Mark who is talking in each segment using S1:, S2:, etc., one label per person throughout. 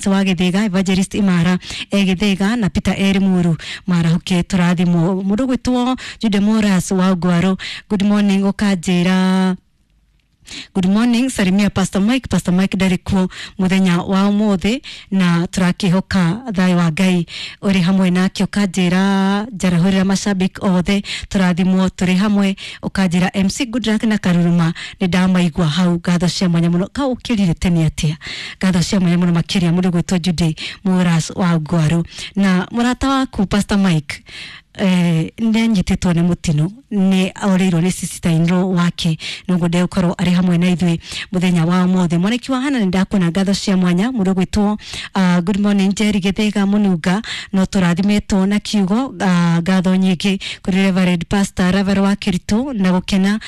S1: Wa Githiga, Evangelist Imara e Githiga na Peter Eri Muru marahuke turathimwo. Mundu gwitwo Jude Moras wa Ngwaro, good morning. Ukanjira good morning, salimia Pastor Mike. Pastor Mike ndarĩ kuo muthenya wa umuthi na turakihoka thayo wa Ngai uri hamwe nake. Ukanjira njarahurira mashabiki othe, turathimwo turi hamwe. Ukanjira MC Goodluck na Karuruma nĩ ndamaigua hau, ngatho cia mwanya muno. Kau ukirire tene atia? Ngatho cia mwanya muno makiria, mundu gwitwo Jude Muras wa Ngwaru. Na murata waku Pastor Mike nĩ anyitĩtwo nĩ mũtino, nĩ orĩirwo nĩ sister in law wake, noguo ndegũkorwo arĩ hamwe na ithuĩ mũthenya wa ũmũthĩ. Mwaniki wa Hana, nĩ ndakuona, ngatho cia mwanya. Mũndũ gwĩtwo good morning Jerry Gĩthĩga Mũnunga, no tũrathimĩtwo na kiugo. Ngatho nyingĩ kũrĩ Reverend Pastor Reverend wa Kĩritũ na gũkena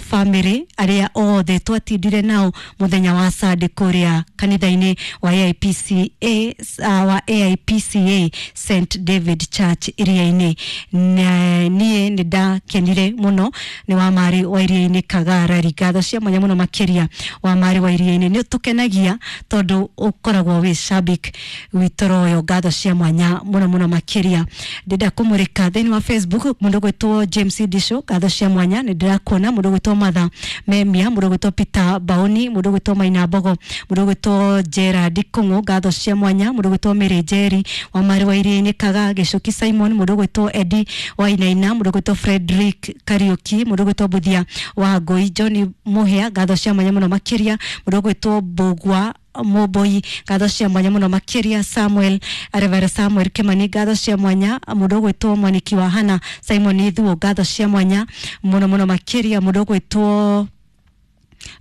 S1: family arĩa othe twatindire nao mũthenya wa Sunday kũrĩa kanitha-inĩ wa AIPCA, wa AIPCA St David Church iria-inĩ. Niĩ nĩ ndakenire mũno. Nĩ wa marĩ wa iria-inĩ Kagarari, ngatho cia mwanya mũno makĩria. Wa marĩ wa iria-inĩ, nĩ ũtũkenagia tondũ ũkoragwo wĩ shabik witũ royo, ngatho cia mwanya mũno mũno makĩria. Ndĩrenda kũmũrĩka thĩinĩ wa Facebook. Mũndũ gwĩtwo James Disho, ngatho cia mwanya, nĩ ndĩrakuona. Mũndũ gwĩtwo Matha Memia, mũndũ gwĩtwo Peter Baoni, mũndũ gwĩtwo Maina Mbogo, mũndũ gwĩtwo Gerard Kung'u, ngatho cia mwanya. Mũndũ gwĩtwo Mary Njeri wa marĩ wa iria-inĩ Kaga Gĩcuki Simon, mũndũ gwĩtwo Eddie wa Inaina, mũndũ gwĩtwo Frederick Kariuki, mũndũ gwĩtwo Buthia wa Ngũi, John Muhia, ngatho cia mwanya mũno makĩria. Mũndũ gwĩtwo Mbũgua Mũmboi, ngatho cia mwanya mũno makĩria. Samuel, Reverend Samuel Kimani, ngatho cia mwanya. Mũndũ gwĩtwo Mwaniki wa Hana Simon Ithuo, ngatho cia mwanya mũno mũno makĩria. Mũndũ gwĩtwo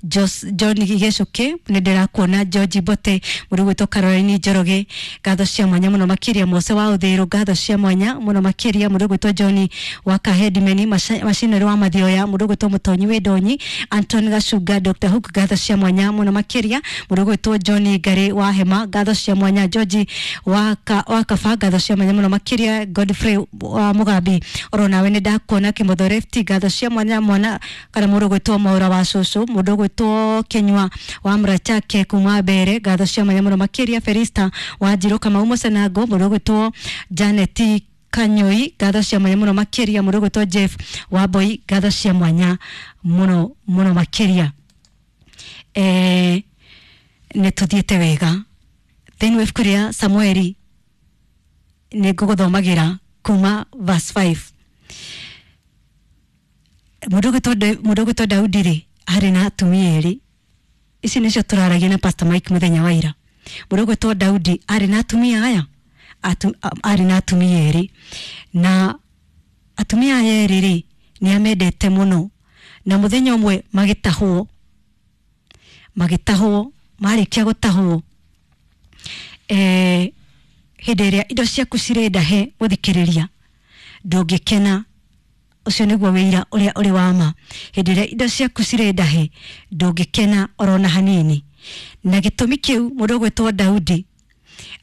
S1: John Gĩcuki, nĩ ndĩrakuona. George Mbote, mũndũ gwĩtwo Caroline Njoroge, ngatho cia mwanya mũno makĩria. Mose wa Ũthĩrũ, ngatho cia mwanya mũno makĩria. Mũndũ gwĩtwo John wa Kahedimeni macinĩrĩ wa Mathioya, mũndũ gwĩtwo Mũtonyi wĩ Ndonyi, Anton Gacunga, Dr Hook, ngatho cia mwanya mũno makĩria. Mũndũ gwĩtwo John Ngarĩ wa Hema, ngatho cia mwanya. George wa Kaba, ngatho cia mwanya mũno makĩria. Godfrey wa Mugambi, oro nawe nĩ ndakuona. Kĩmotho Left, ngatho cia mwanya. Mwana kana mũndũ gwĩtwo Maura wa Cũcũ, mũndũ gwĩtwo Kinyua wa Mrachake kuma Mbere, ngatho cia mwanya mũno makĩria. Felista wa Njirũ, Kamau Mũcenango, mũndũ gwĩtwo Janet Kanyoi, ngatho cia mwanya mũno makĩria. Mũndũ gwĩtwo Jeff wa Boy, ngatho cia mwanya mũno mũno makĩria. Nĩ tũthiĩte wega. Thĩinĩ wa ibuku rĩa Samueli nĩ ngũgũthomagĩra kuma verse 5. Mũndũ gwĩtwo Daudi rĩ, arĩ na atumia erĩ. Ici nĩcio tũraragia na Pastor Mike mũthenya wa ira. Mũndũ gwĩtwo Daudi arĩ na atumia aya, arĩ na atumia erĩ, na atumia aya erĩ rĩ, nĩ amendete mũno. Na mũthenya ũmwe magĩtahwo. Marĩkia gũtahwo, hĩndĩ ĩrĩa indo ciaku cirĩ ndahe, mũthikĩrĩria, ndũngĩkena. Ũcio nĩguo wĩira ũrĩa ũrĩ wa ma. Hĩndĩ ĩrĩa indo ciaku cirĩ ndahe, ndũngĩkena orona hanini. Na gĩtũmi kĩu, mũndũ ũgwĩtwo Daudi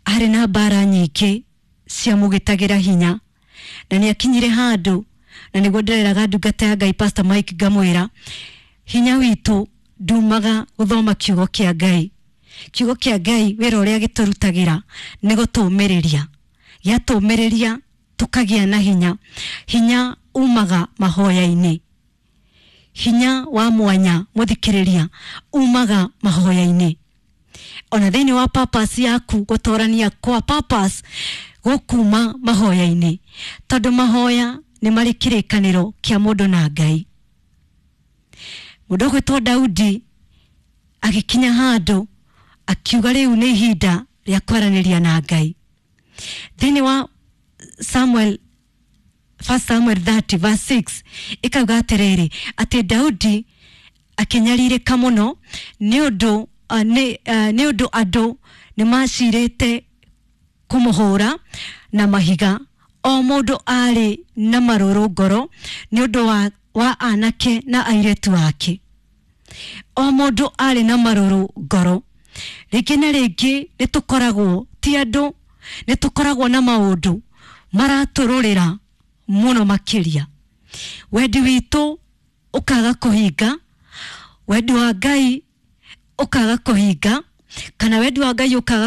S1: arĩ na mbara nyingĩ ciamũgĩtagĩra hinya, na nĩ akinyire handũ, na nĩguo ndĩreraga ndungata ya Ngai Pastor Mike, ngamwĩra hinya witũ ndumaga gũthoma kiugo kĩa Ngai. Kiugo kĩa Ngai, wĩra ũrĩa gĩtũrutagĩra nĩ gũtũmĩrĩria, gĩatũmĩrĩria tũkagĩa na hinya. Hinya umaga mahoya-inĩ, hinya wa mwanya, mũthikĩrĩria, umaga mahoya-inĩ. Ona thĩinĩ wa purpose yaku, gũtorania kwa purpose gũkuma mahoya-inĩ, tondũ mahoya nĩ marĩ kĩrĩkanĩro kĩa mũndũ na Ngai. Mũndũ ũgwĩtwo Daudi agĩkinya handũ akiuga rĩu nĩ ihinda rĩa kwaranĩria na Ngai. Thĩinĩ wa Samuel, First Samuel 30 verse 6, ĩkauga atĩrĩrĩ, atĩ Daudi akĩnyarirĩka mũno nĩ ũndũ andũ nĩ macirĩte kũmũhũra na mahiga. O mũndũ arĩ na marũrũ ngoro nĩ ũndũ wa anake na airĩtu ake. O mũndũ arĩ na marũrũ ngoro. Rĩngĩ na rĩngĩ nĩ tũkoragwo ti andũ, nĩ tũkoragwo na maũndũ maratũrũrĩra mũno makĩria, wendi witũ ũkaga kũhinga, wendi wa Ngai ũkaga kũhinga. Kana wendi wa Ngai ũkaga.